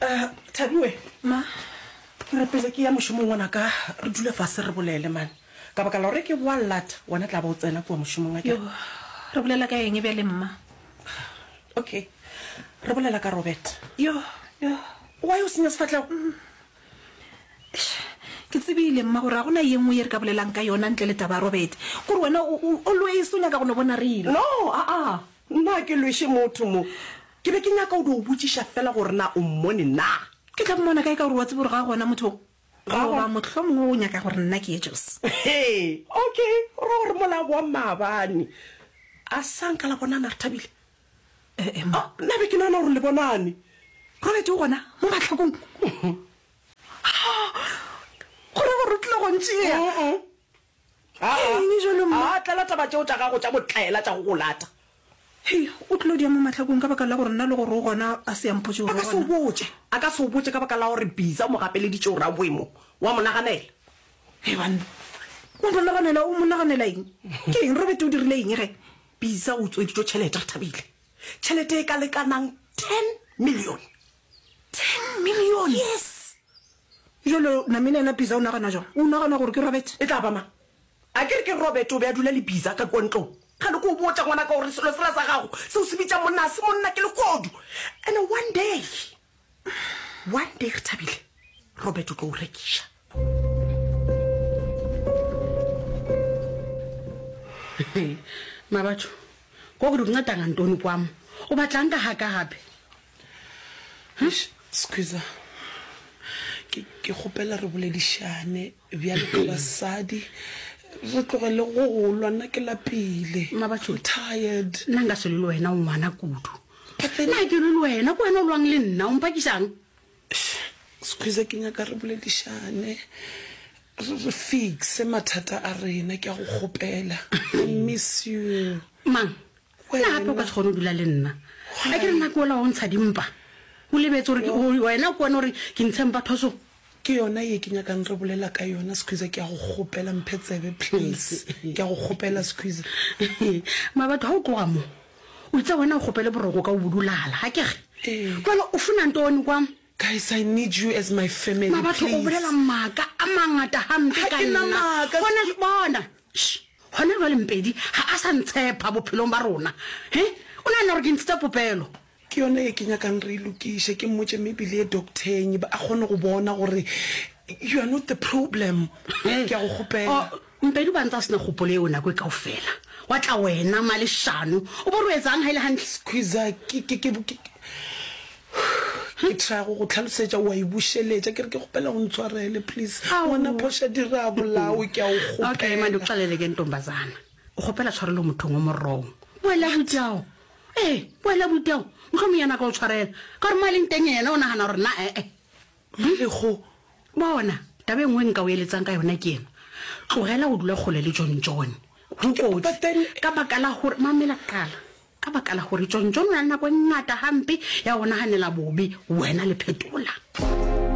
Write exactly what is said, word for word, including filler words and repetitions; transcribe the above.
Uh, Thabiwe. Ma. Ke re pele ke ya mošomong ngwanaka, re dule fase re bolele man. Ka baka la gore ke boa lata, wena tla ba o tsena kua mošomong akere. Yo, re bolela ka eng bjale mma? Okay, re bolela ka Robert. Yo, yo. Why o senya sefahlego? Eish, ke tsebile mma gore ga gona ye nngwe ye re ka bolelang ka yona ntle le taba ya Robert. Kore wena o, o, always o nyaka go no bona re elwa. No, aa, nna ga ke lweše motho mo. Ke be ke nyaka go dio botšiša fela gore na o mmone na. Ke tla mmona kae ka gore wa tseba gore ga a gona motho o? Ga a Goba gona. mohlomongwe o nyaka gore nna ke ye Jos. Hee, okay, go ra gore mola wa maabane a sa nka la bonana re thabile? Eh, eh, mma. Ah, nna be ke nagana gore le bonane. Robert o gona mo mahlakong. Go ra gore o tlile go ntšea. Mm-mm. Ke eng jalo mma? A tlela taba tšeo tša gago tša botlaela tša go go lata. Hei, o tlilo dia mo mahlakong ka baka la gore nna le gore o gona a se a mpotše A gore ka o se o gona. botše. A ka se o botše ka baka la gore Biza o mo gapeleditše gore a boe mo. Wa mo naganela. Hei banna, wa mo naganela, o mo naganela eng? Ke eng? Robert o dirile eng ge? Biza o utsweditšwe tšhelete, Rethabile. Tšhelete e ka lekanang ten million. Ten million? Yes. Bjalo namile yena Biza o nagana jwang? O nagana gore ke Robert? E tla ba mang? A ke re ke Robert o be a dula le Biza ka kua ntlong. Kgale ke o botša ngwanaka gore selo sela sa gago se o se bitša monna ga se monna ke lehodu. And one day, one day Rethabile, Robert o tlo o rekiša. Mabatho, ko ke di nceda ngantoni kwam? O batlang ka ga ka gape? Eish, Squeezer, ke, ke kgopela re boledišane bjalo ka basadi, re tlogele go go lwa, nna ke lapile. Mabatho, I'm tired. Nna nka se lwe le wena, o ngwana kudu. But then Nna ke lwe le wena, ke wena o lwang le nna, o mpakišang? Eish, Squeezer, ke nyaka re boledišane, re, re fixe mathata a rena, ke a go kgopela. I miss you. Mang? Nna gape o ka se kgone go dula le nna. A ke re nna ke ola wa go ntsha dimpa. O lebetse gore ke, o, wena ke wena o re ke ntshe mpa thoso. Ke yona ye ke nyakang re bolela ka yona, Squeezer, ke a go kgopela, mphe tsebe, please. Ke a go kgopela, Squeezer. Mabatho, ga o tloga mo, o itse wena o kgopele boroko ka o bodulala, ga ke re? Ee. Jwale o funa ntoni kwam? Guys, I need you as my family, Mabatho, o please. bolela maaka a mangata hampe Ga ka ke na nna. maaka, Gona, Sque- bona, shh, gona jwale Mpedi ga a sa ntshepa bophelong ba rona. He? O nagana gore ke ntshitse popelo? Ke yona ye ke nyakang re e lokiše, ke mmotše maybe le ye docteng, ba a kgone go bona gore you are not the problem. Ke a go kgopela. Oh, Mpedi o ba ntse a sena kgopolo eo nako e kaofela. Wa tla wena maleshano, o bo re o etsang ha e le hantle? Squeezer, ke, ke, ke, ke, ke try go go tlhalosetša, o a e bušeletša. Ke re ke kgopela o ntshwarele, please. Ao. Ngwana phoša dira bolawe, ke a o Okay, mande o kgopela. xelele ke ntombazana. O kgopela tshwarelo mothong o morong. Boela botao. Ee, boela botao. Mohlomong yena a ka o tshwarela. Ka gore mo a leng teng yena o nagana gore na ee. Malego. Bona, taba e nngwe nka o eletsang ka yona ke ena. Tlogela go dula kgole le John John. Go kotsi. But then Ka baka la gore, mamela qala. Ka baka la gore John John o na le nako e ngata hampe ya go naganela bobe wena le Phetola.